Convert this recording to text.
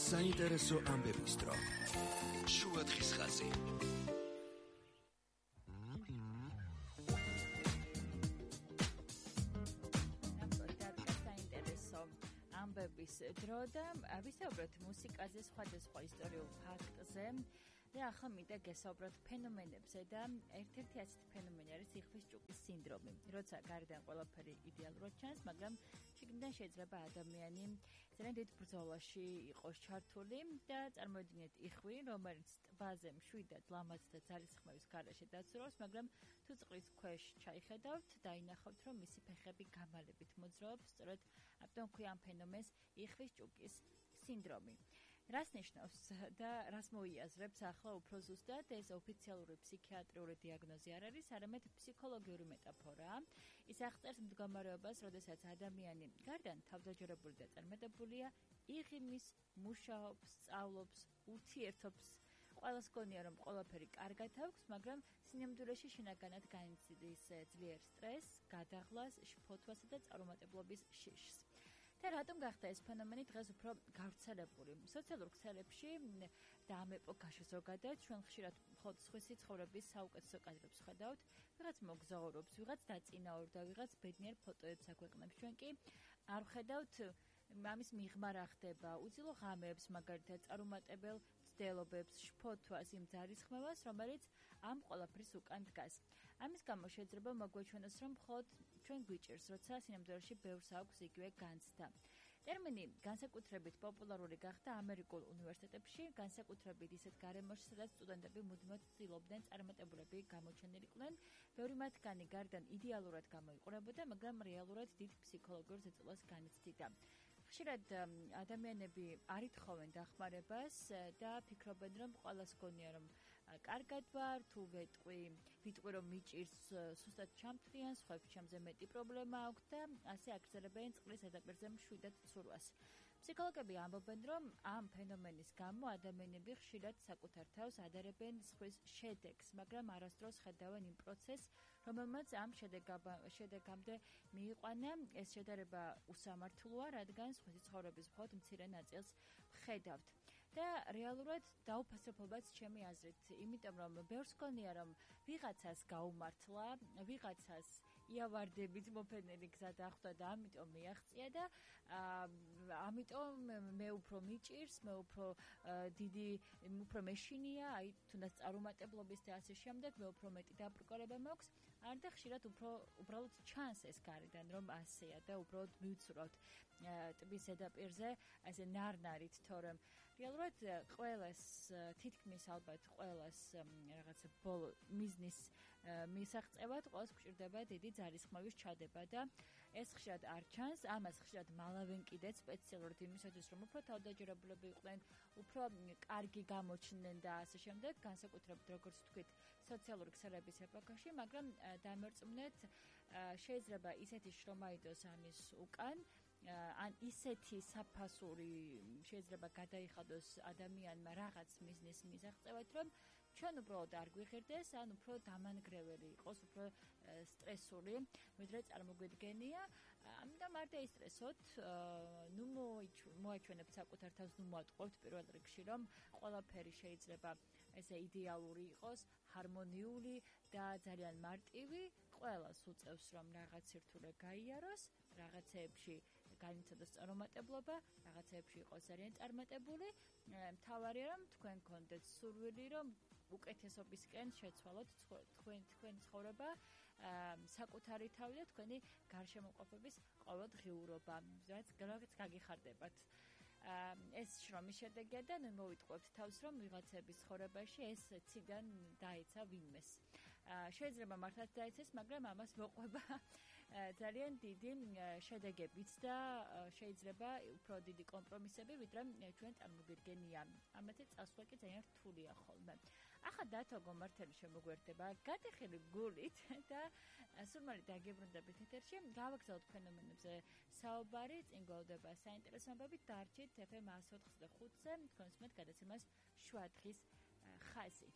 საინტერესო ამბების დრო. შუადღის ხაზი. ამბების დრო და ვისაუბროთ მუსიკაზე, სხვადასხვა ისტორიულ ფაქტზე და ახლა მინდა გესაუბროთ ფენომენებზე და ერთ-ერთი ასეთი ფენომენი არის იხვის ჭუკის სინდრომი. როცა გარედან ყველაფერი იდეალურად ჩანს, მაგრამ შიგნიდან შეიძლება ადამიანი ძალიან დიდ ბრძოლაში იყოს ჩართული და წარმოიდგინეთ იხვი, რომელიც ტბაზე მშვიდად, ლამაზ და ძალისხმევის გარეშე დაცურავს, მაგრამ თუ წყლის ქვეშ ჩაიხედავთ, დაინახავთ, რომ მისი ფეხები გამალებით მოძრაობს, სწორედ ამიტომ ქვია ამ ფენომენს იხვის ჭუკის სინდრომი. რას ნიშნავს და რას მოიაზრებს ახლა უფრო ზუსტად ეს ოფიციალური ფსიქიატრიული დიაგნოზი არ არის, არამედ ფსიქოლოგიური მეტაფორაა. ის აღწერს მდგომარეობას, როდესაც ადამიანი გარდან თავდაჯერებული და წარმატებულია, იღიმის, მუშაობს, სწავლობს, ურთიერთობს. ყველას გონია, რომ ყველაფერი კარგად აქვს, მაგრამ სინამდვილეში შინაგანად განიცდის ძლიერ სტრესს, გადაღლას, შფოთვასა და წარუმატებლობის შიშს. და რატომ გახდა ეს ფენომენი დღეს უფრო გავრცელებული? სოციალურ ქსელებში და ამ ეპოქაში ზოგადად ჩვენ ხშირად მხოლოდ სხვისი ცხოვრების საუკეთესო კადრებს ხედავთ, ვიღაც მოგზაურობს, ვიღაც დაწინაურდა, ვიღაც ბედნიერ ფოტოებს აქვეყნებს. ჩვენ კი არ ვხედავთ ამის მიღმა რა ხდება, უძილო ღამეებს, მაგალითად, წარუმატებელ ცდილობებს, შფოთვას, იმ ძალისხმევას, რომელიც ამ ყველაფრის უკან დგას. ამის გამო შეიძლება მოგვეჩვენოს, რომ მხოლოდ ჩვენ გვიჭირს, როცა სინამდვილეში ბევრს აქვს იგივე განცდა. ტერმინი განსაკუთრებით პოპულარული გახდა ამერიკულ უნივერსიტეტებში, განსაკუთრებით ისეთ გარემოში, სადაც სტუდენტები მუდმივად ცდილობდნენ წარმატებულები გამოჩენილიყვნენ. ბევრი მათგანი გარდან იდეალურად გამოიყურებოდა, მაგრამ რეალურად დიდ ფსიქოლოგიურ ზეწოლას განიცდიდა. ხშირად ადამიანები არ ითხოვენ დახმარებას და ფიქრობენ, რომ ყველას გონია, რომ კარგად ვარ, თუ ვიტყვი რომ მიჭირს, სუსტად ჩამთვლიან, სხვაებს ჩემზე მეტი პრობლემა აქვს და ასე აგრძელებენ წყლის ზედაპირზე მშვიდად ცურვას. ფსიქოლოგები ამბობენ, რომ ამ ფენომენის გამო ადამიანები ხშირად საკუთარ თავს ადარებენ სხვის შედეგს, მაგრამ არასდროს ხედავენ იმ პროცესს, რომელმაც ამ შედეგამდე მიიყვანა. ეს შედარება უსამართლოა, რადგან სხვისი ცხოვრების მხოლოდ მცირე ნაწილს ვხედავთ. და რეალურად დაუფასებობაც ჩემი აზრით, იმიტომ რომ ბევრს გონია, რომ ვიღაცას გაუმართლა, ვიღაცას იავარდებით მოფენილი გზა დახვდა და ამიტომ მიაღწია და ამიტომ მე უფრო მიჭირს, მე უფრო დიდი, უფრო მეშინია, აი თუნდაც წარუმატებლობის და ასე შემდეგ, მე უფრო მეტი დაბრკოლება მაქვს, არ და ხშირად უბრალოდ ჩანს ეს გარედან, რომ ასეა და უბრალოდ მივცურავთ ტბის ზედაპირზე, ასე ნარნარით, თორემ რეალურად ყველას, თითქმის ალბათ ყველას რაღაცა ბოლო მიზნის მისაღწევად, ყველას გვჭირდება დიდი ძალისხმევის ჩადება და ეს ხშირად არ ჩანს, ამას ხშირად მალავენ კიდეც სპეციალურად იმისათვის, რომ უფრო თავდაჯერებულები იყვნენ, უფრო კარგი გამოჩნდნენ და ასე შემდეგ, განსაკუთრებით როგორც ვთქვით, სოციალური ქსელების ეპოქაში, მაგრამ დამერწმუნეთ, შეიძლება ისეთი შრომა იდოს ამის უკან, ან ისეთი საფასური შეიძლება გადაიხადოს ადამიანმა რაღაც მიზნის მისაღწევად, რომ ჩვენ უბრალოდ არ გვიღირდეს, ან უფრო დამანგრეველი იყოს, უფრო სტრესული, ვიდრე წარმოგვიდგენია. ამიტომ არ დაისტრესოთ, ნუ მოაჩვენებთ საკუთარ თავს, ნუ მოატყუებთ პირველ რიგში, რომ ყველაფერი შეიძლება ესე იდეალური იყოს, ჰარმონიული და ძალიან მარტივი. ყველას უწევს, რომ რაღაც სირთულე გაიაროს, რაღაცეებში განიცადოს წარუმატებლობა, რაღაცეებში იყოს ძალიან წარმატებული. მთავარია, რომ თქვენ გქონდეთ სურვილი, რომ უკეთესობისკენ შეცვალოთ თქვენი ცხოვრება, საკუთარი თავი და თქვენი გარშემოყოფების ყოველდღიურობა, რაც გაგიხარდებათ. ეს შრომის შედეგია და ნუ მოვიტყუებთ თავს, რომ ვიღაცების ცხოვრებაში ეს ციდან დაეცა ვინმეს. შეიძლება მართლაც დაეცეს, მაგრამ ამას მოყვება ძალიან დიდი შედეგებიც და შეიძლება უფრო დიდი კომპრომისები, ვიდრე ჩვენ წარმოგვიდგენია. ამაზე წასვლა კი ძალიან რთულია ხოლმე. ახლა დათო გომართელი შემოგვერდება გადახილი გულით და სულ დაგებრუნდებით ეთერში. გავაგზავნოთ ფენომენებზე საუბარი, წინ გვევდება საინტერესო ამბები, დარჩით FM 104.5-ზე, თქვენს მეტ გადაცემას შუადღის ხაზი.